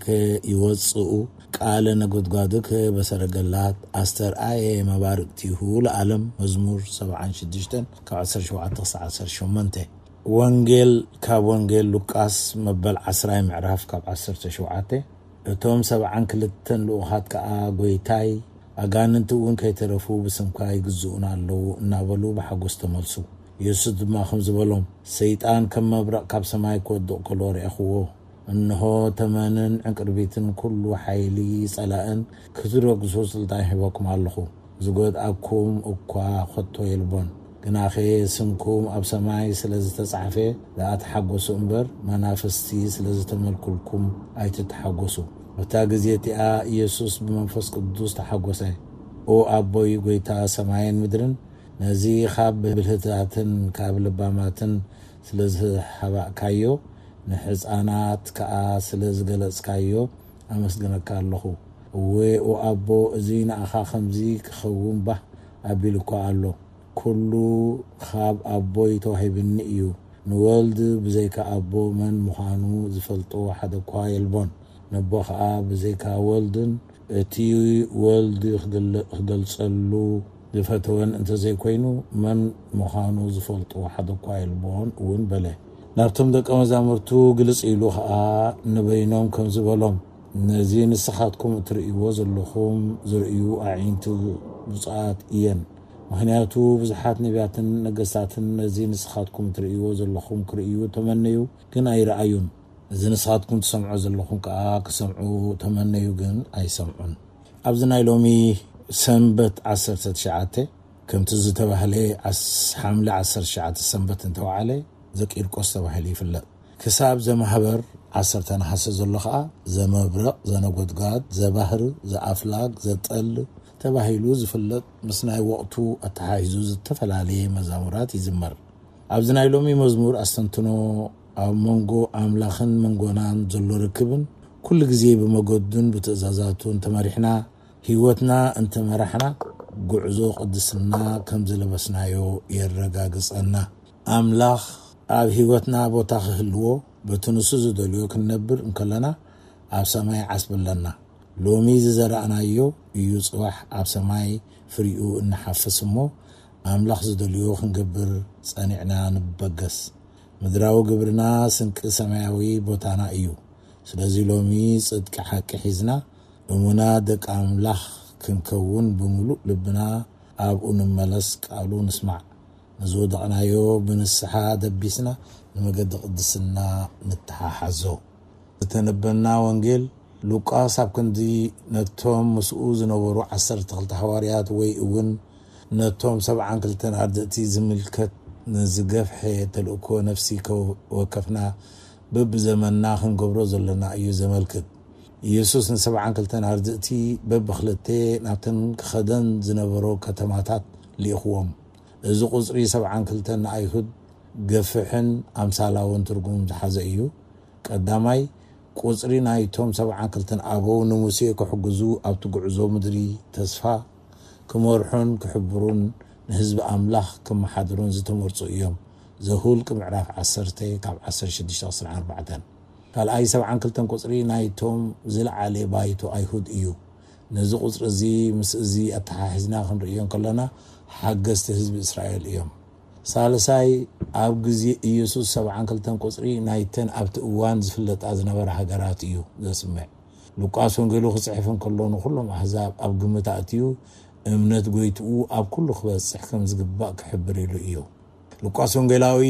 ከይወጽኡ፣ ቃለ ነጎድጓድከ በሰረገላት ኣስተርኣየ፣ መባርቅቲሁ ለዓለም። መዝሙር ሰብዓን ሽዱሽተን ካብ ዓሰርተ ሸውዓተ ክሳብ ዓሰርተ ሸሞንተ። ወንጌል ካብ ወንጌል ሉቃስ መበል ዓስራይ ምዕራፍ ካብ ዓሰርተ ሸውዓተ። እቶም ሰብዓን ክልተን ልኡኻት ከኣ፣ "ጐይታይ፣ ኣጋንንቲ እውን ከይተረፉ ብስምካ ይግዝኡና ኣለዉ" እናበሉ ብሓጎስ ተመልሱ። የሱስ ድማ ከምዚ በሎም፣ "ሰይጣን ከም መብረቕ ካብ ሰማይ ክወድቕ ከሎ ርኣኹዎ። እንሆ፣ ተመንን ዕንቅርቢትን ኩሉ ሓይሊ ጸላእን ክትረግጹ ስልጣን ሂበኩም ኣለኹ። ዝጎድኣኩም እኳ ኸቶ የልቦን። ግናኸ ስምኩም ኣብ ሰማይ ስለ ዝተጻሕፈ ደኣ ተሓጎሱ እምበር፣ መናፍስቲ ስለ ዝተመልኩልኩም ኣይትተሓጎሱ።" በታ ግዜ እቲኣ ኢየሱስ ብመንፈስ ቅዱስ ተሓጎሰ። "ኦ ኣቦይ፣ ጐይታ ሰማይን ምድርን፣ ነዚ ካብ ብልህታትን ካብ ለባማትን ስለ ዝሃባእካዮ፣ ንሕፃናት ከኣ ስለ ዝገለጽካዮ ኣመስግነካ ኣለኹ። እወ፣ ኦ ኣቦ፣ እዚ ንኣኻ ከምዚ ክኸውን ባህ ኣቢሉኳ ኣሎ። ኩሉ ካብ ኣቦይ ተዋሂብኒ እዩ። ንወልድ ብዘይካ ኣቦ መን ምዃኑ ዝፈልጦ ሓደ እኳ የልቦን። ነቦ ኸኣ ብዘይካ ወልድን እቲ ወልድ ክግለ-፣ ክገልጸሉ ዝፈተወን እንተዘይኮይኑ፣ መን ምዃኑ ዝፈልጦ ሓደ እኳ የልቦን እውን በለ። ናብቶም ደቀ መዛሙርቱ ግልጽ ኢሉ ኸኣ ንበይኖም ከምዚ በሎም፣ ነዚ ንስኻትኩም እትርእይዎ ዘለኹም ዝርእዩ ኣዒንቲ ብፁዓት እየን። ምኽንያቱ ብዙሓት ነቢያትን ነገስታትን ነዚ ንስኻትኩም እትርእይዎ ዘለኹም ክርእዩ ተመነዩ፣ ግን ኣይረኣዩን። እዚ ንስኻትኩም ትሰምዖ ዘለኹም ከኣ ክሰምዑ ተመነዩ፣ ግን ኣይሰምዑን። ኣብዚ ናይ ሎሚ ሰንበት ዓሰርተ ትሽዓተ፣ ከምቲ ዝተባህለ ዓስ-፣ ሓምለ ዓሰርተ ትሽዓተ ሰንበት እንተወዓለ ዘቂርቆስ ተባሂሉ ይፍለጥ። ክሳብ ዘማህበር ዓሰርተ ነሓሰ ዘሎ ከኣ ዘመብረቕ፣ ዘነጎድጓድ፣ ዘባህር፣ ዘኣፍላግ፣ ዘጠል ተባሂሉ ዝፍለጥ ምስ ናይ ወቕቱ ኣተሓሒዙ ዝተፈላለየ መዛሙራት ይዝመር። ኣብዚ ናይ ሎሚ መዝሙር ኣስተንትኖ ኣብ መንጎ ኣምላኽን መንጎናን ዘሎ ርክብን ኩሉ ግዜ ብመገዱን ብትእዛዛቱን ተመሪሕና፣ ህይወትና እንተመራሕና፣ ጉዕዞ ቅድስና ከም ዝለበስናዮ የረጋግጸና። ኣምላኽ ኣብ ህይወትና ቦታ ክህልዎ፣ በቲ ንሱ ዝደልዮ ክንነብር እንከለና፣ ኣብ ሰማይ ዓስቢ ኣለና። ሎሚ ዝዘራእናዮ እዩ ጽባሕ ኣብ ሰማይ ፍሪኡ እንሓፍስ እሞ፣ ኣምላኽ ዝደልዮ ክንገብር ጸኒዕና ንበገስ። ምድራዊ ግብርና ስንቂ ሰማያዊ ቦታና እዩ። ስለዚ ሎሚ ጽድቂ ሓቂ ሒዝና፣ እሙናት ደቂ ኣምላኽ ክንከውን ብምሉእ ልብና ኣብኡ ንመለስ፣ ቃሉ ንስማዕ። ንዝወደቕናዮ ብንስሓ ደቢስና ንመገዲ ቅድስና ንተሓሓዞ። ዝተነበና ወንጌል ሉቃስ ኣብ ክንዲ ነቶም ምስኡ ዝነበሩ ዓሰርተ ክልተ ሃዋርያት ወይ እውን ነቶም ሰብዓን ክልተን ኣርድእቲ ዝምልከት ንዝገፍሐ ተልእኮ ነፍሲ ከወከፍና በብዘመንና ክንገብሮ ዘለና እዩ ዘመልክት። ኢየሱስ ንሰብዓን ክልተን ኣርድእቲ በብኽልተ ናብተን ክኸደን ዝነበሮ ከተማታት ልኢኽዎም። እዚ ቁጽሪ ሰብዓን ክልተን ንኣይሁድ ገፍሕን ኣምሳላውን ትርጉም ዝሓዘ እዩ። ቀዳማይ፣ ቁጽሪ ናይቶም ሰብዓን ክልተን ኣበው ንሙሴ ክሕግዙ ኣብቲ ጉዕዞ ምድሪ ተስፋ ክመርሑን ክሕብሩን ንህዝቢ ኣምላኽ ክመሓድሩን ዝተመርጹ እዮም። ዘሁልቅ ምዕራፍ ዓሰርተ ካብ ዓሰርተ ሽዱሽተ ክሳብ ኣርባዕተ። ካልኣይ፣ ሰብዓን ክልተን ቁጽሪ ናይቶም ዝለዓለ ባይቶ ኣይሁድ እዩ። ነዚ ቁጽሪ እዚ ምስ እዚ ኣተሓሒዝና ክንርእዮ እንከለና፣ ሓገዝቲ ህዝቢ እስራኤል እዮም። ሳልሳይ፣ ኣብ ግዜ ኢየሱስ ሰብዓን ክልተን ቁጽሪ ናይተን ኣብቲ እዋን ዝፍለጣ ዝነበራ ሃገራት እዩ ዘስምዕ። ሉቃስ ወንጌሉ ክጽሕፍ እንከሎ ንኹሎም ኣህዛብ ኣብ ግምት ኣእትዩ፣ እምነት ጎይትኡ ኣብ ኩሉ ክበጽሕ ከም ዝግባእ ክሕብር ኢሉ እዩ። ሉቃስ ወንጌላዊ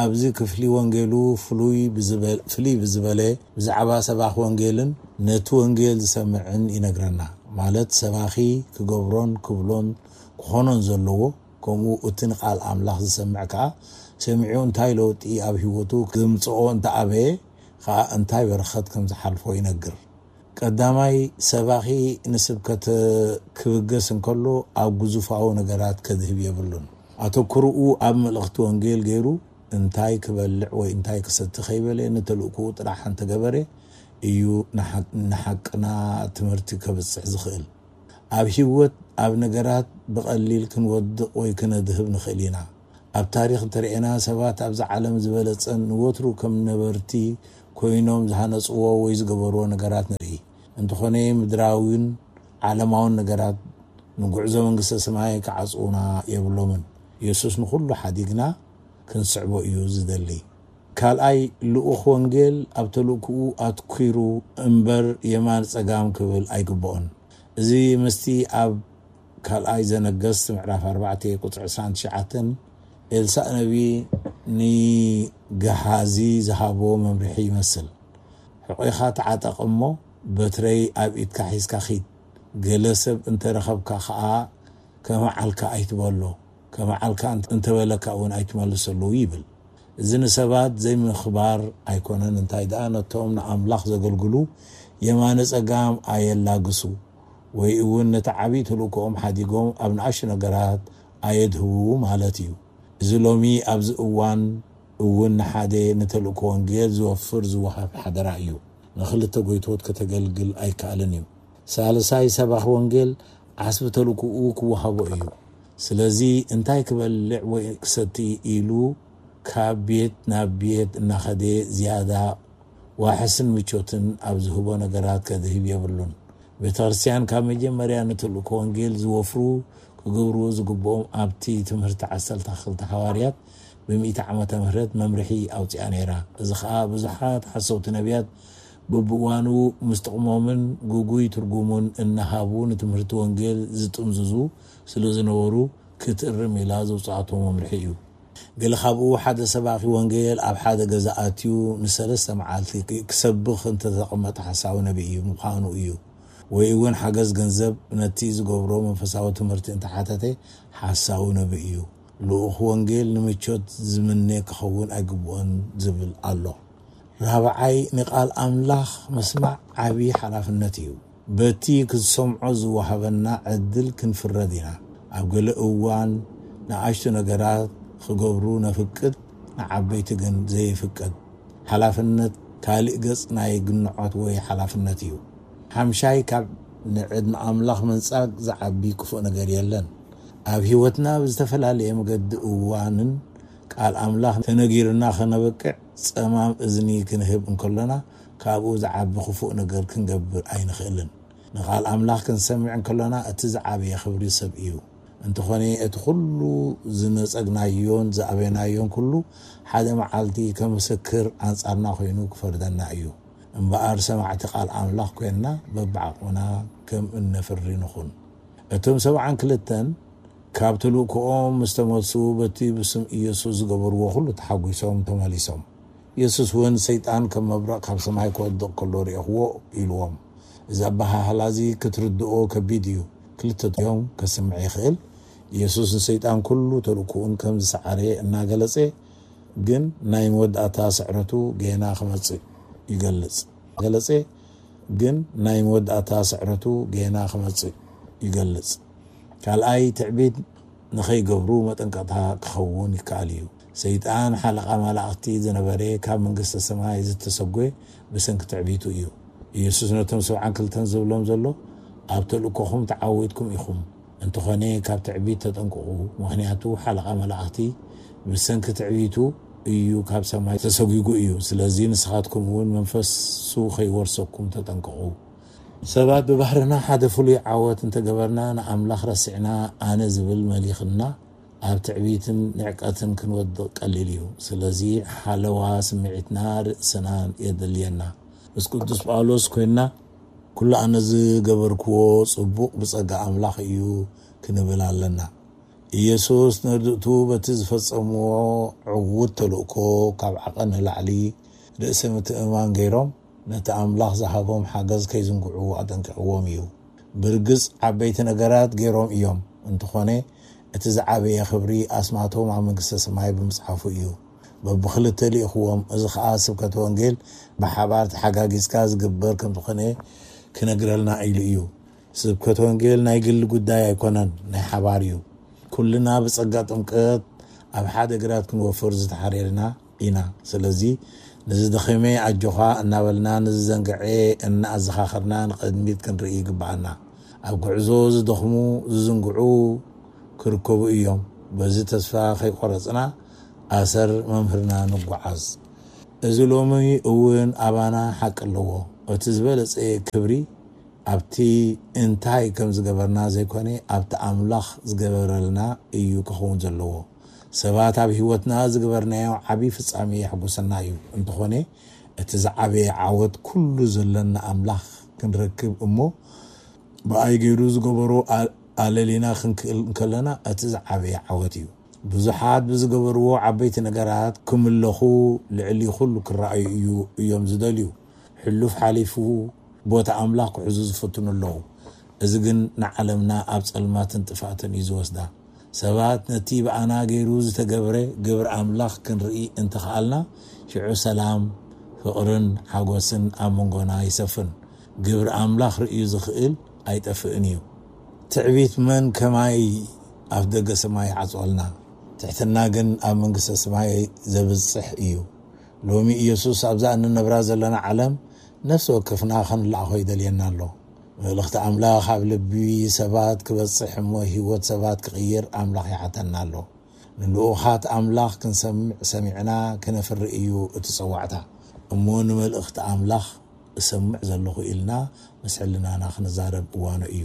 ኣብዚ ክፍሊ ወንጌሉ ፍሉይ ብዝበል-፣ ፍልይ ብዝበለ ብዛዕባ ሰባኺ ወንጌልን ነቲ ወንጌል ዝሰምዕን ይነግረና። ማለት ሰባኺ ክገብሮን ክብሎን ክኾኖን ዘለዎ፣ ከምኡ እቲ ንቃል ኣምላኽ ዝሰምዕ ከኣ ሰሚዑ እንታይ ለውጢ ኣብ ህይወቱ ክምጽኦ እንተኣበየ ከኣ እንታይ በረኸት ከም ዝሓልፎ ይነግር። ቀዳማይ፣ ሰባኺ ንስብከት ክብገስ እንከሎ ኣብ ግዙፋዊ ነገራት ከድህብ የብሉን። ኣተኩርኡ ኣብ መልእኽቲ ወንጌል ገይሩ እንታይ ክበልዕ ወይ እንታይ ክሰቲ ከይበለ ንተልእኮኡ ጥራሕ እንተገበረ እዩ ንሓ-፣ ንሓቅና ትምህርቲ ከብጽሕ ዝኽእል። ኣብ ህይወት ኣብ ነገራት ብቐሊል ክንወድቕ ወይ ክነድህብ ንኽእል ኢና። ኣብ ታሪኽ እንተርኤና ሰባት ኣብዚ ዓለም ዝበለጸን ንወትሩ ከም ነበርቲ ኮይኖም ዝሃነጽዎ ወይ ዝገበርዎ ነገራት ንርኢ። እንተኾነ ምድራዊን ዓለማውን ነገራት ንጉዕዞ መንግስተ ሰማይ ክዓጽዉና የብሎምን። የሱስ ንኹሉ ሓዲግና ክንስዕቦ እዩ ዝደሊ። ካልኣይ ልኡኽ ወንጌል ኣብ ተልእኮኡ ኣትኲሩ እምበር የማን ጸጋም ክብል ኣይግብኦን። እዚ ምስቲ ኣብ ካልኣይ ዘነገስት ምዕራፍ ኣርባዕተ ቁጽሪ ዕስራን ትሽዓተን ኤልሳእ ነቢ ንገሃዚ ዝሃቦ መምርሒ ይመስል። ሕቆኻ ተዓጠቕ እሞ በትረይ ኣብ ኢድካ ሒዝካ ኺድ። ገለ ሰብ እንተረኸብካ ኸኣ ከመዓልካ ኣይትበሎ፣ ከመዓልካ እንተበለካ እውን ኣይትመልሰሉ ይብል። እዚ ንሰባት ዘይምኽባር ኣይኮነን፣ እንታይ ደኣ ነቶም ንኣምላኽ ዘገልግሉ የማነ ጸጋም ኣየላግሱ፣ ወይ እውን ነቲ ዓብዪ ተልእኮኦም ሓዲጎም ኣብ ንኣሽቱ ነገራት ኣየድህቡ ማለት እዩ። እዚ ሎሚ ኣብዚ እዋን እውን ንሓደ ንተልእኮ ወንጌል ዝወፍር ዝወሃብ ሓደራ እዩ። ንኽልተ ጎይቶት ከተገልግል ኣይከኣልን እዩ። ሳልሳይ ሰባኺ ወንጌል ዓስቢ ተልእኮኡ ክወሃቦ እዩ። ስለዚ እንታይ ክበልዕ ወይ ክሰቲ ኢሉ ካብ ቤት ናብ ቤት እናኸደ ዝያዳ ዋሕስን ምቾትን ኣብ ዝህቦ ነገራት ከድህብ የብሉን። ቤተ ክርስቲያን ካብ መጀመርያ ንተልእኮ ወንጌል ዝወፍሩ ክገብርዎ ዝግብኦም ኣብቲ ትምህርቲ ዓሰርተ ክልተ ሓዋርያት ብሚእቲ ዓመተ ምህረት መምርሒ ኣውጺኣ ነይራ። እዚ ኸኣ ብዙሓት ሓሰውቲ ነቢያት በብእዋኑ ምስ ጥቕሞምን ግጉይ ትርጉሙን እናሃቡ ንትምህርቲ ወንጌል ዝጥምዝዙ ስለ ዝነበሩ ክትእርም ኢላ ዘውጽኣቶ መምርሒ እዩ። ገለ ካብኡ ሓደ ሰባኺ ወንጌል ኣብ ሓደ ገዛ ኣትዩ ንሰለስተ መዓልቲ ክሰብኽ እንተተቐመጠ ሓሳዊ ነቢ እዩ ምዃኑ እዩ። ወይ እውን ሓገዝ ገንዘብ ነቲ ዝገብሮ መንፈሳዊ ትምህርቲ እንተሓተተ ሓሳዊ ነቢ እዩ። ልኡኽ ወንጌል ንምቾት ዝምነ ክኸውን ኣይግብኦን ዝብል ኣሎ። ራብዓይ ንቓል ኣምላኽ ምስማዕ ዓብዪ ሓላፍነት እዩ። በቲ ክንሰምዖ ዝወሃበና ዕድል ክንፍረድ ኢና። ኣብ ገለ እዋን ንኣሽቱ ነገራት ክገብሩ ነፍቅድ፣ ንዓበይቲ ግን ዘይፍቀድ። ሓላፍነት ካልእ ገጽ ናይ ግንዖት ወይ ሓላፍነት እዩ። ሓምሻይ ካብ ንዕድ ንኣምላኽ ምንጻግ ዝዓቢ ክፉእ ነገር የለን። ኣብ ህይወትና ብዝተፈላለየ መገዲ እዋንን ቃል ኣምላኽ ተነጊርና ከነበቅዕ ጸማም እዝኒ ክንህብ እንከሎና ካብኡ ዝዓቢ ክፉእ ነገር ክንገብር ኣይንኽእልን። ንቓል ኣምላኽ ክንሰምዕ እንከሎና እቲ ዝዓበየ ክብሪ ሰብ እዩ። እንተኾነ እቲ ኩሉ ዝነጸግናዮን ዝኣበናዮን ኩሉ ሓደ መዓልቲ ከም ምስክር ኣንጻርና ኮይኑ ክፈርደና እዩ። እምበኣር ሰማዕቲ ቃል ኣምላኽ ኮይንና በብዓቕምና ከም እነፍሪ ንኹን። እቶም ሰብዓን ክልተን ካብ ተልእኮኦም ምስ ተመልሱ በቲ ብስም ኢየሱስ ዝገበርዎ ኩሉ ተሓጒሶም ተመሊሶም። ኢየሱስ እውን ሰይጣን ከም መብረቕ ካብ ሰማይ ክወድቕ ከሎ ርእኹዎ ኢልዎም። እዚ ኣበሃህላ እዚ ክትርድኦ ከቢድ እዩ። ክልተ እዮም ከስምዕ ይኽእል። ኢየሱስ ንሰይጣን ኩሉ ተልእኮኡን ከም ዝሰዓረ እናገለጸ ግን ናይ መወዳእታ ስዕረቱ ጌና ክመጽእ ይገልጽ። ገለጸ ግን ናይ መወዳእታ ስዕረቱ ጌና ክመጽእ ይገልጽ። ካልኣይ ትዕቢት ንኸይገብሩ መጠንቀቕታ ክኸውን ይከኣል እዩ። ሰይጣን ሓለቓ መላእኽቲ ዝነበረ ካብ መንግስተ ሰማይ ዝተሰጎ ብሰንኪ ትዕቢቱ እዩ። ኢየሱስ ነቶም ሰብዓን ክልተን ዝብሎም ዘሎ ኣብ ተልእኮኹም ተዓዊትኩም ኢኹም። እንተኾነ ካብ ትዕቢት ተጠንቀቑ፣ ምኽንያቱ ሓለቓ መላእኽቲ ብሰንኪ ትዕቢቱ እዩ ካብ ሰማይ ተሰጒጉ እዩ። ስለዚ ንስኻትኩም እውን መንፈሱ ከይወርሰኩም ተጠንቀቑ። ሰባት ብባህርና ሓደ ፍሉይ ዓወት እንተገበርና ንኣምላኽ ረሲዕና ኣነ ዝብል መሊኽና ኣብ ትዕቢትን ንዕቀትን ክንወድቕ ቀሊል እዩ። ስለዚ ሓለዋ ስምዒትና ርእስና የድልየና። ምስ ቅዱስ ጳውሎስ ኮይንና ኩሉ ኣነ ዝገበርክዎ ጽቡቕ ብጸጋ ኣምላኽ እዩ ክንብል ኣለና። ኢየሱስ ነርድእቱ በቲ ዝፈጸምዎ ዕዉት ተልእኮ ካብ ዓቐን ንላዕሊ ርእሰ ምትእምማን ገይሮም ነቲ ኣምላኽ ዝሃቦም ሓገዝ ከይዝንግዑ ኣጠንቂቕዎም እዩ። ብርግጽ ዓበይቲ ነገራት ገይሮም እዮም፣ እንተኾነ እቲ ዝዓበየ ክብሪ ኣስማቶም ኣብ መንግስተ ሰማይ ብምጽሓፉ እዩ። በብኽልተ ልኢኽዎም፣ እዚ ኸኣ ስብከተ ወንጌል ብሓባር ተሓጋጊዝካ ዝግበር ከም ዝኾነ ክነግረልና ኢሉ እዩ። ስብከት ወንጌል ናይ ግሊ ጉዳይ ኣይኮነን፣ ናይ ሓባር እዩ። ኩልና ብጸጋ ጥምቀት ኣብ ሓደ ግራት ክንወፍር ዝተሓሬርና ኢና። ስለዚ ንዝደኸመ ኣጆኻ እናበልና ንዝዘንግዐ እናኣዘኻኸርና ንቕድሚት ክንርኢ ይግብኣና። ኣብ ጉዕዞ ዝደኽሙ ዝዝንግዑ ክርከቡ እዮም። በዚ ተስፋ ከይቆረጽና ኣሰር መምህርና ንጓዓዝ። እዚ ሎሚ እውን ኣባና ሓቂ ኣለዎ። እቲ ዝበለጸ ክብሪ ኣብቲ እንታይ ከም ዝገበርና ዘይኮነ፣ ኣብቲ ኣምላኽ ዝገበረልና እዩ ክኸውን ዘለዎ። ሰባት ኣብ ህይወትና ዝገበርናዮ ዓቢ ፍጻሜ የሕጉሰና እዩ። እንተኾነ፣ እቲ ዝዓበየ ዓወት ኩሉ ዘለና ኣምላኽ ክንረክብ እሞ፣ ብኣይ ገይሩ ዝገበሮ ኣ-፣ ኣለሊና ክንክእል እንከለና፣ እቲ ዝዓበየ ዓወት እዩ። ብዙሓት ብዝገበርዎ ዓበይቲ ነገራት ክምለኹ፣ ልዕሊ ኩሉ ክረኣዩ እዩ፣ እዮም ዝደልዩ። ሕሉፍ ሓሊፉ ቦታ ኣምላኽ ክሕዙ ዝፍትኑ ኣለዉ። እዚ ግን ንዓለምና ኣብ ጸልማትን ጥፍኣትን እዩ ዝወስዳ። ሰባት ነቲ ብኣና ገይሩ ዝተገብረ ግብሪ ኣምላኽ ክንርኢ እንተኸኣልና፣ ሽዑ ሰላም፣ ፍቕርን ሓጎስን ኣብ መንጎና ይሰፍን። ግብሪ ኣምላኽ ርእዩ ዝኽእል ኣይጠፍእን እዩ። ትዕቢት መን ከማይ ኣፍ ደገ ሰማይ ይዓጽወልና? ትሕትና ግን ኣብ መንግስተ ሰማይ ዘብጽሕ እዩ። ሎሚ ኢየሱስ ኣብዛ እንነብራ ዘለና ዓለም ነፍሲ ወከፍና ከንለኣኾ ይደልየና ኣሎ። መልእኽቲ ኣምላኽ ኣብ ልቢ ሰባት ክበጽሕ እሞ ህይወት ሰባት ክቕይር ኣምላኽ ይሓተና ኣሎ። ንልኡኻት ኣምላኽ ክንሰምዕ ሰሚዕና ክነፍሪ እዩ እቲ ጸዋዕታ። እሞ ንመልእኽቲ ኣምላኽ እሰምዕ ዘለኹ ኢልና ምስ ሕልናና ክንዛረብ እዋኑ እዩ።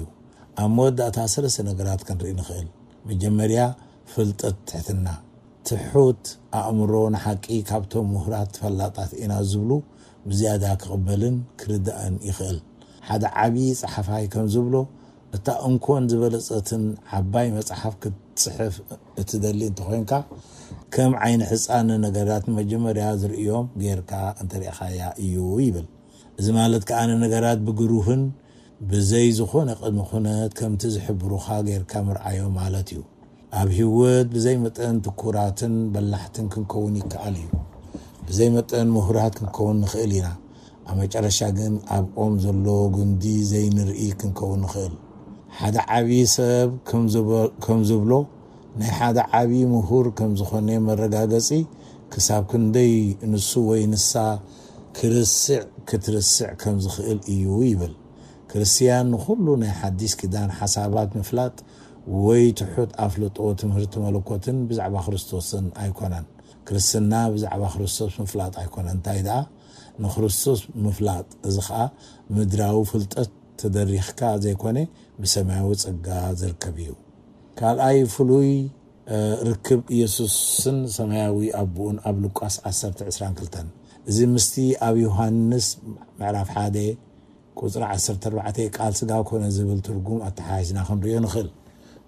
ኣብ መወዳእታ ሰለስተ ነገራት ክንርኢ ንኽእል። መጀመርያ ፍልጠት ትሕትና። ትሑት ኣእምሮ ንሓቂ ካብቶም ምሁራት ፈላጣት ኢና ዝብሉ ብዝያዳ ክቕበልን ክርዳእን ይኽእል። ሓደ ዓቢ ጸሓፋይ ከም ዝብሎ፣ እታ እንኮን ዝበለጸትን ዓባይ መጽሓፍ ክትጽሕፍ እትደሊ እንተኾይንካ፣ ከም ዓይኒ ሕጻን ንነገራት ንመጀመርያ ዝርእዮም ጌርካ እንተሪእኻያ እዩ ይብል። እዚ ማለት ከኣ ንነገራት ብግሩህን ብዘይ ዝኾነ ቅድመ ኩነት ከምቲ ዝሕብሩኻ ጌርካ ምርኣዮም ማለት እዩ። ኣብ ህይወት ብዘይ መጠን ትኩራትን በላሕትን ክንከውን ይከኣል እዩ። ብዘይ መጠን ምሁራት ክንከውን ንኽእል ኢና። ኣብ መጨረሻ ግን ኣብ ኦም ዘሎ ጉንዲ ዘይንርኢ ክንከውን ንኽእል። ሓደ ዓቢ ሰብ ከም ዝብ-፣ ከም ዝብሎ፣ ናይ ሓደ ዓቢ ምሁር ከም ዝኾነ መረጋገጺ ክሳብ ክንደይ ንሱ ወይ ንሳ ክርስዕ፣ ክትርስዕ ከም ዝኽእል እዩ ይብል። ክርስትያን ንኹሉ ናይ ሓዲስ ኪዳን ሓሳባት ምፍላጥ ወይ ትሑት ኣፍልጦ ትምህርቲ መለኮትን ብዛዕባ ክርስቶስን ኣይኮነን። ክርስትና ብዛዕባ ክርስቶስ ምፍላጥ ኣይኮነን። እንታይ ደኣ? ንክርስቶስ ምፍላጥ። እዚ ኸኣ ምድራዊ ፍልጠት ተደሪኽካ ዘይኮነ፣ ብሰማያዊ ጸጋ ዝርከብ እዩ። ካልኣይ ፍሉይ፣ እ፣ ርክብ ኢየሱስን ሰማያዊ ኣቦኡን ኣብ ሉቃስ ዓሰርተ ዕስራን ክልተን። እዚ ምስቲ ኣብ ዮሃንስ ምዕራፍ ሓደ ቁጽሪ ዓሰርተ ኣርባዕተ ቃል ስጋ ኮነ ዝብል ትርጉም ኣተሓሒዝና ክንርእዮ ንኽእል።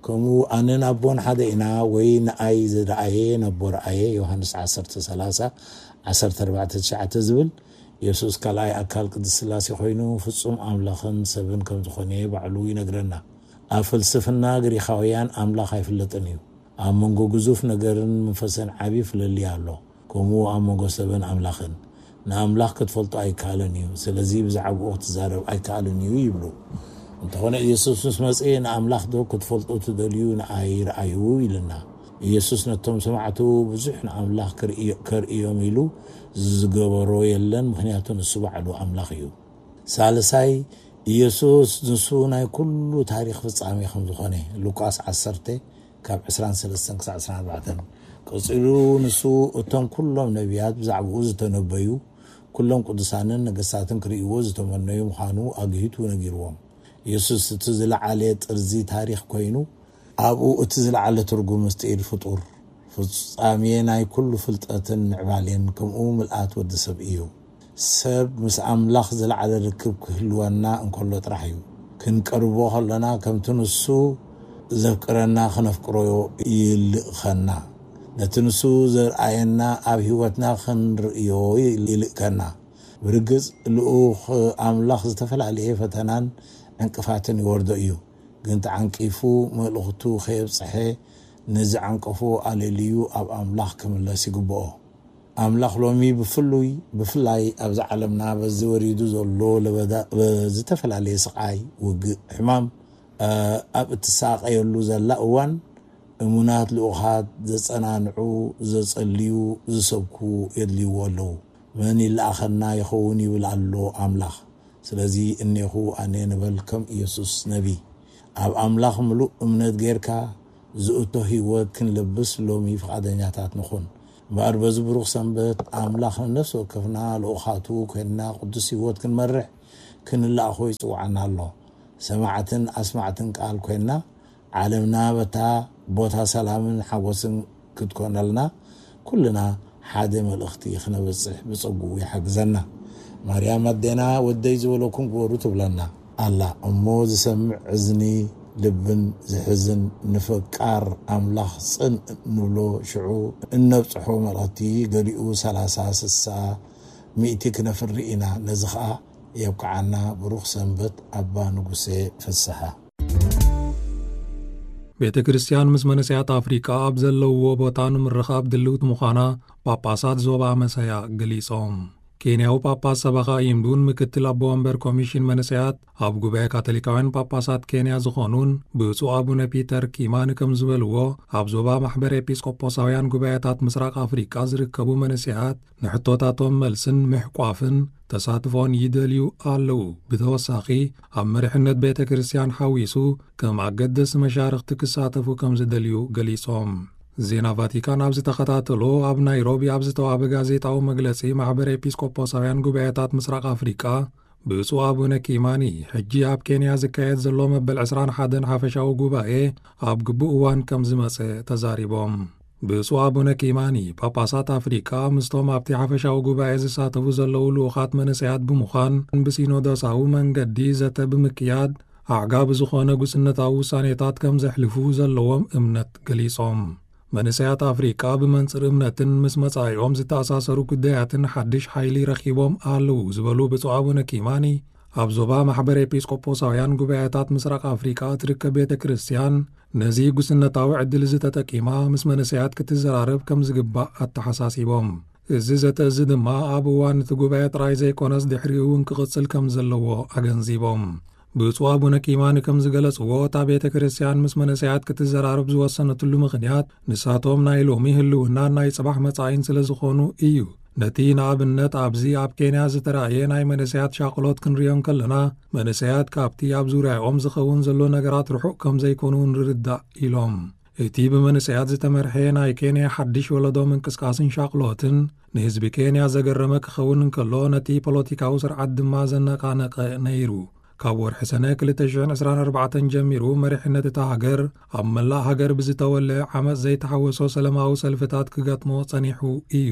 ከምኡ ኣነን ኣቦን ሓደ ኢና፣ ወይ ንኣይ ዝረኣየ ነቦ ረኣየ፣ ዮሃንስ ዓሰርተ ሰላሳ፣ ዓሰርተ ኣርባዕተ ትሽዓተ ዝብል፣ የሱስ ካልኣይ ኣካል ቅድስት ስላሴ ኮይኑ ፍጹም ኣምላኽን ሰብን ከም ዝኾነ ባዕሉ ይነግረና። ኣብ ፍልስፍና ግሪኻውያን ኣምላኽ ኣይፍለጥን እዩ። ኣብ መንጎ ግዙፍ ነገርን መንፈስን ዓቢ ፍልልይ ኣሎ። ከምኡ ኣብ መንጎ ሰብን ኣምላኽን። ንኣምላኽ ክትፈልጦ ኣይከኣልን እዩ፣ ስለዚ ብዛዕባኡ ክትዛረብ ኣይከኣልን እዩ ይብሉ። እንተኾነ ኢየሱስ ምስ መጽኤ ንኣምላኽ ዶ ክትፈልጡ ትደልዩ ንኣይ ረኣዩ ኢልና። ኢየሱስ ነቶም ሰማዕቱ ብዙሕ ንኣምላኽ ክርእዮ-፣ ከርእዮም ኢሉ ዝገበሮ የለን፣ ምኽንያቱ ንሱ ባዕሉ ኣምላኽ እዩ። ሳልሳይ፣ ኢየሱስ ንሱ ናይ ኩሉ ታሪኽ ፍጻሜ ከም ዝኾነ፣ ሉቃስ ዓሰርተ ካብ ዕስራን ሰለስተን ክሳብ ዕስራን ኣርባዕተን። ቀጺሉ ንሱ እቶም ኩሎም ነቢያት ብዛዕባኡ ዝተነበዩ፣ ኩሎም ቅዱሳንን ነገስታትን ክርእይዎ ዝተመነዩ ምዃኑ ኣግሂቱ ነጊርዎም። ኢየሱስ እቲ ዝለዓለ ጥርዚ ታሪኽ ኮይኑ፣ ኣብኡ እቲ ዝለዓለ ትርጉም ምስጢር ፍጡር፣ ፍጻሜ ናይ ኩሉ ፍልጠትን ምዕባሌን፣ ከምኡ ምልኣት ወዲ ሰብ እዩ። ሰብ ምስ ኣምላኽ ዝለዓለ ርክብ ክህልወና እንከሎ ጥራሕ እዩ። ክንቀርቦ ከለና ከምቲ ንሱ ዘፍቅረና ክነፍቅሮ ይልእኸና። ነቲ ንሱ ዘርኣየና ኣብ ህይወትና ክንርእዮ ይልእከና። ብርግጽ ልኡኽ ኣምላኽ ዝተፈላለየ ፈተናን ዕንቅፋትን ይወርዶ እዩ። ግን ተዓንቂፉ መልእኽቱ ከየብጽሐ ነዚ ዓንቀፎ ኣለልዩ ኣብ ኣምላኽ ክምለስ ይግብኦ። ኣምላኽ ሎሚ ብፍሉይ፣ ብፍላይ ኣብዚ ዓለምና በዚ ወሪዱ ዘሎ ለበዳ፣ ብዝተፈላለየ ስቓይ፣ ውግእ፣ ሕማም፣ እ፣ ኣብ እትሳቐየሉ ዘላ እዋን፣ እሙናት ልኡኻት ዘጸናንዑ፣ ዘጸልዩ፣ ዝሰብኩ የድልይዎ ኣለዉ። መን ይለኣኸና ይኸውን ይብል ኣሎ ኣምላኽ። ስለዚ እኔኹ ኣነ ንበል ከም ኢየሱስ ነቢ። ኣብ ኣምላኽ ምሉእ እምነት ጌርካ ዝእቶ ህይወት ክንለብስ ሎሚ ፍቓደኛታት ንኹን። እምበኣር በዚ ብሩኽ ሰንበት ኣምላኽ ንነፍሲ ወከፍና ልኡኻቱ ኮይንና ቅዱስ ህይወት ክንመርሕ ክንለኣኾ ይጽውዓና ኣሎ። ሰማዕትን ኣስማዕትን ቃል ኮይና፣ ዓለምና በታ ቦታ ሰላምን ሓጎስን ክትኮነልና፣ ኩልና ሓደ መልእኽቲ ክነበጽሕ ብጸጉኡ ይሓግዘና። ማርያም ኣዴና፣ ወደይ ዝበለኩም ግበሩ ትብለና ኣላ። እሞ ዝሰምዕ እዝኒ ልብን ዝሕዝን፣ ንፈቃር ኣምላኽ ጽን ንብሎ ሽዑ እነብጽሖ መልእኽቲ፣ ገሊኡ ሰላሳ፣ ስሳ፣ ሚእቲ ክነፍሪ ኢና። ነዚ ኸኣ የብቅዓና። ብሩኽ ሰንበት ኣባ ንጉሴ ፍስሓ። ቤተ ክርስቲያን ምስ መንእሰያት ኣፍሪቃ ኣብ ዘለውዎ ቦታ ንምርኻብ ድልውቲ ምዃና ጳጳሳት ዞባ መሰያ ገሊጾም። ኬንያዊ ጳጳስ ሰበኻ ኢምዱን ምክትል ኣቦ ወንበር ኮሚሽን መንእሰያት ኣብ ጉባኤ ካቶሊካውያን ጳጳሳት ኬንያ ዝኾኑን ብፁዕ ኣቡነ ፒተር ኪማኒ ከም ዝበልዎ፣ ኣብ ዞባ ማሕበር ኤጲስቆጶሳውያን ጉባኤታት ምስራቅ ኣፍሪቃ ዝርከቡ መንእሰያት ንሕቶታቶም መልስን ምሕቋፍን ተሳትፎን ይደልዩ ኣለዉ። ብተወሳኺ፣ ኣብ መሪሕነት ቤተ ክርስቲያን ሓዊሱ ከም ኣገደስቲ መሻርኽቲ ክሳተፉ ከም ዝደልዩ ገሊጾም። ዜና ቫቲካን ኣብ ዝተኸታተሎ፣ ኣብ ናይሮቢ ኣብ ዝተዋህበ ጋዜጣዊ መግለጺ፣ ማሕበር ኤጲስቆጶሳውያን ጉባኤታት ምስራቅ ኣፍሪቃ ብፁዕ ኣቡነ ኪማኒ፣ ሕጂ ኣብ ኬንያ ዝካየድ ዘሎ መበል ዕስራን ሓደን ሓፈሻዊ ጉባኤ ኣብ ግቡእ እዋን ከም ዝመጸ ተዛሪቦም። ብፁዕ ኣቡነ ኪማኒ፣ ጳጳሳት ኣፍሪቃ ምስቶም ኣብቲ ሓፈሻዊ ጉባኤ ዝሳተፉ ዘለዉ ልኡኻት መንእሰያት ብምዃን፣ ብሲኖዶሳዊ መንገዲ ዘተ ብምክያድ፣ ኣዕጋቢ ዝኾነ ጉስነታዊ ውሳኔታት ከም ዘሕልፉ ዘለዎም እምነት ገሊጾም። መንእሰያት ኣፍሪቃ ብመንጽር እምነትን ምስ መጻኢኦም ዝተኣሳሰሩ ጉዳያትን ሓድሽ ሓይሊ ረኺቦም ኣለዉ ዝበሉ ብፁዕ ኣቡነ ኪማኒ፣ ኣብ ዞባ ማሕበር ኤጲስቆጶሳውያን ጉባኤታት ምስራቅ ኣፍሪቃ እትርከብ ቤተ ክርስቲያን ነዚ ጉስነታዊ ዕድል እዚ ተጠቂማ ምስ መንእሰያት ክትዘራረብ ከም ዝግባእ ኣተሓሳሲቦም። እዚ ዘተ እዚ ድማ ኣብ እዋን እቲ ጉባኤ ጥራይ ዘይኮነስ ድሕሪኡ እውን ክቕጽል ከም ዘለዎ ኣገንዚቦም። ብፁዕ ኣቡነ ኪማኒ ከም ዝገለጽዎ፣ እታ ቤተ ክርስቲያን ምስ መንእሰያት ክትዘራረብ ዝወሰነትሉ ምኽንያት፣ ንሳቶም ናይ ሎሚ ህልውናን ናይ ጽባሕ መጻኢን ስለ ዝኾኑ እዩ። ነቲ ንኣብነት ኣብዚ ኣብ ኬንያ ዝተራእየ ናይ መንእሰያት ሻቕሎት ክንሪኦ እንከለና፣ መንእሰያት ካብቲ ኣብ ዙርያኦም ዝኸውን ዘሎ ነገራት ርሑቕ ከም ዘይኮኑ ንርዳእ ኢሎም። እቲ ብመንእሰያት ዝተመርሐ ናይ ኬንያ ሓድሽ ወለዶ ምንቅስቃስን ሻቕሎትን ንህዝቢ ኬንያ ዘገረመ ክኸውን እንከሎ፣ ነቲ ፖለቲካዊ ስርዓት ድማ ዘነቓነቐ ነይሩ። ካብ ወርሒ ሰነ ክልተ ሽሕን ዕስራን ኣርባዕተን ጀሚሩ፣ መሪሕነት እታ ሃገር ኣብ መላእ ሃገር ብዝተወልዐ ዓመጽ ዘይተሓወሶ ሰላማዊ ሰልፍታት ክገጥሞ ጸኒሑ እዩ።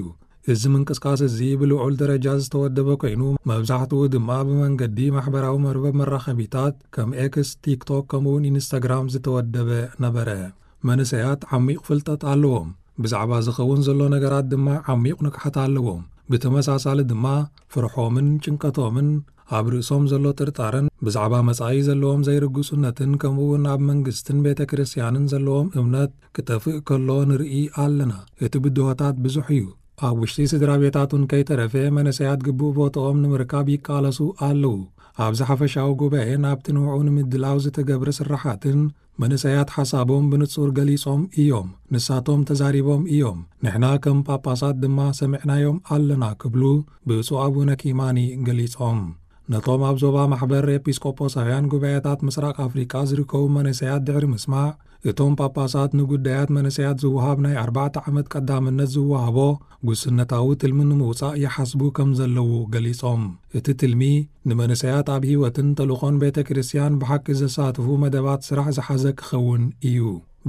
እዚ ምንቅስቃስ እዚ ብልዑል ደረጃ ዝተወደበ ኮይኑ፣ መብዛሕትኡ ድማ ብመንገዲ ማሕበራዊ መርበብ መራኸቢታት ከም ኤክስ፣ ቲክቶክ፣ ከምኡውን ኢንስታግራም ዝተወደበ ነበረ። መንእሰያት ዓሚቕ ፍልጠት ኣለዎም። ብዛዕባ ዝኸውን ዘሎ ነገራት ድማ ዓሚቕ ንቕሓት ኣለዎም። ብተመሳሳሊ ድማ ፍርሖምን ጭንቀቶምን ኣብ ርእሶም ዘሎ ጥርጣረን ብዛዕባ መጻኢ ዘለዎም ዘይርግጹነትን ከምኡውን ኣብ መንግስትን ቤተ ክርስቲያንን ዘለዎም እምነት ክጠፍእ ከሎ ንርኢ ኣለና። እቲ ብድሆታት ብዙሕ እዩ። ኣብ ውሽጢ ስድራ ቤታት እውን ከይተረፈ መንእሰያት ግቡእ ቦትኦም ንምርካብ ይቃለሱ ኣለዉ። ኣብዚ ሓፈሻዊ ጉባኤ ናብቲ ንዕኡ ንምድላው ዝተገብረ ስራሓትን መንእሰያት ሓሳቦም ብንጹር ገሊጾም እዮም። ንሳቶም ተዛሪቦም እዮም። ንሕና ከም ጳጳሳት ድማ ሰሚዕናዮም ኣለና ክብሉ ብፁዕ ኣቡነ ኪማኒ ገሊጾም። ነቶም ኣብ ዞባ ማሕበር ኤጲስቆጶሳውያን ጉባኤታት ምስራቅ ኣፍሪቃ ዝርከቡ መንእሰያት ድሕሪ ምስማዕ፣ እቶም ጳጳሳት ንጉዳያት መንእሰያት ዝወሃብ ናይ ኣርባዕተ ዓመት ቀዳምነት ዝወሃቦ ጉስነታዊ ትልሚ ንምውጻእ ይሓስቡ ከም ዘለዉ ገሊጾም። እቲ ትልሚ ንመንእሰያት ኣብ ህይወትን ተልእኾን ቤተ ክርስቲያን ብሓቂ ዘሳትፉ መደባት ስራሕ ዝሓዘ ክኸውን እዩ።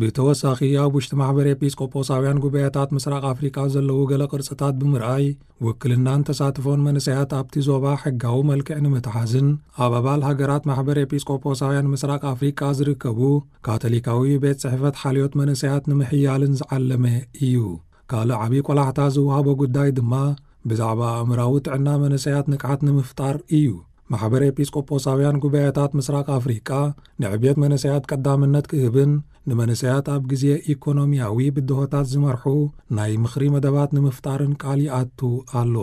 ብተወሳኺ፣ ኣብ ውሽጢ ማሕበር ኤጲስቆጶሳውያን ጉባኤታት ምስራቅ ኣፍሪቃ ዘለዉ ገለ ቅርጽታት ብምርኣይ፣ ውክልናን ተሳትፎን መንእሰያት ኣብቲ ዞባ ሕጋዊ መልክዕ ንምትሓዝን ኣብ ኣባል ሃገራት ማሕበር ኤጲስቆጶሳውያን ምስራቅ ኣፍሪቃ ዝርከቡ ካቶሊካዊ ቤት ጽሕፈት ሓልዮት መንእሰያት ንምሕያልን ዝዓለመ እዩ። ካልእ ዓቢ ቆላሕታ ዝወሃቦ ጉዳይ ድማ ብዛዕባ ኣእምራዊ ጥዕና መንእሰያት ንቕሓት ንምፍጣር እዩ። ማሕበር ኤጲስቆጶሳውያን ጉባኤታት ምስራቅ ኣፍሪቃ ንዕብየት መንእሰያት ቀዳምነት ክህብን ንመንእሰያት ኣብ ግዜ ኢኮኖሚያዊ ብድሆታት ዝመርሑ ናይ ምኽሪ መደባት ንምፍጣርን ቃል ይኣቱ ኣሎ።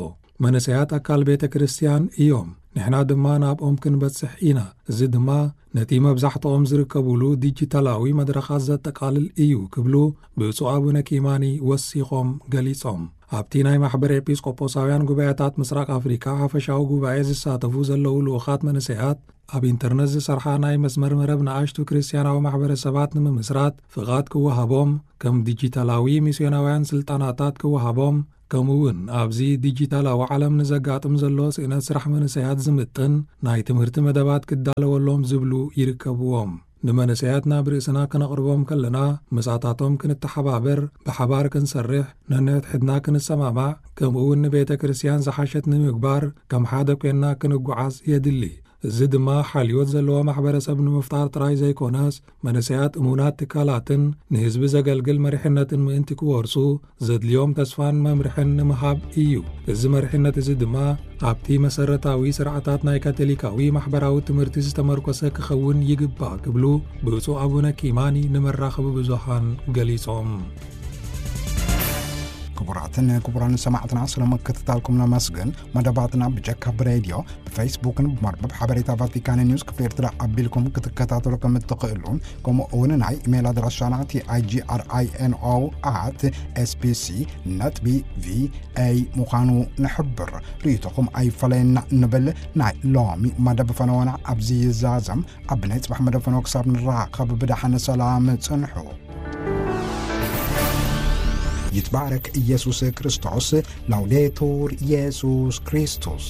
መንእሰያት ኣካል ቤተ ክርስቲያን እዮም። ንሕና ድማ ናብኦም ክንበጽሕ ኢና። እዚ ድማ ነቲ መብዛሕትኦም ዝርከቡሉ ዲጂታላዊ መድረኻት ዘጠቓልል እዩ ክብሉ ብፁዕ ኣቡነ ኪማኒ ወሲኾም ገሊጾም። ኣብቲ ናይ ማሕበር ኤጲስቆጶሳውያን ጉባኤታት ምስራቅ ኣፍሪካ ሓፈሻዊ ጉባኤ ዝሳተፉ ዘለዉ ልኡኻት መንእሰያት፣ ኣብ ኢንተርነት ዝሰርሓ ናይ መስመር መረብ ንኣሽቱ ክርስትያናዊ ማሕበረሰባት ንምምስራት ፍቓድ ክወሃቦም፣ ከም ዲጂታላዊ ሚስዮናውያን ስልጠናታት ክወሃቦም፣ ከምኡ እውን ኣብዚ ዲጂታላዊ ዓለም ንዘጋጥም ዘሎ ስእነት ስራሕ መንእሰያት ዝምጥን ናይ ትምህርቲ መደባት ክዳለወሎም ዝብሉ ይርከብዎም። ንመንእሰያት ናብ ርእስና ክነቕርቦም ከለና፣ ምሳታቶም ክንተሓባበር፣ ብሓባር ክንሰርሕ፣ ነንሕድሕድና ክንሰማማዕ፣ ከምኡ እውን ንቤተ ክርስቲያን ዝሓሸት ንምግባር ከም ሓደ ኮይንና ክንጓዓዝ የድሊ። እዚ ድማ ሓልዮት ዘለዎ ማሕበረሰብ ንምፍጣር ጥራይ ዘይኮነስ፣ መንእሰያት እሙናት ትካላትን ንህዝቢ ዘገልግል መሪሕነትን ምእንቲ ክወርሱ፣ ዘድልዮም ተስፋን መምርሕን ንምሃብ እዩ። እዚ መሪሕነት እዚ ድማ ኣብቲ መሰረታዊ ስርዓታት ናይ ካቶሊካዊ ማሕበራዊ ትምህርቲ ዝተመርኮሰ ክኸውን ይግባእ ክብሉ ብፁዕ ኣቡነ ኪማኒ ንመራኸቢ ብዙሃን ገሊጾም። ክቡራትን ክቡራን ሰማዕትና፣ ስለ ምክትታልኩም ነመስግን። መደባትና ብጀካ ብሬድዮ፣ ብፌስቡክን ብመርበብ ሓበሬታ ቫቲካን ኒውስ ክፍሊ ኤርትራ ኣቢልኩም ክትከታተሉ ከም እትኽእሉ፣ ከምኡ እውን ናይ ኢሜይል ኣድራሻና ቲ ኣይ ጂ ኣር ኣይ ኤን ኦ ኣት ኤስ ቢ ሲ ነጥቢ ቪ ኤ ምዃኑ ንሕብር። ርእይቶኹም ኣይፈለየና እንብል። ናይ ሎሚ መደብ ፈነወና ኣብዚ ይዛዘም። ኣብ ናይ ጽባሕ መደብ ፈነወ ክሳብ ንራኸብ ብደሓን ሰላም ጽንሑ። ይትባረክ ኢየሱስ ክርስቶስ። ላውዴቱር ኢየሱስ ክርስቶስ።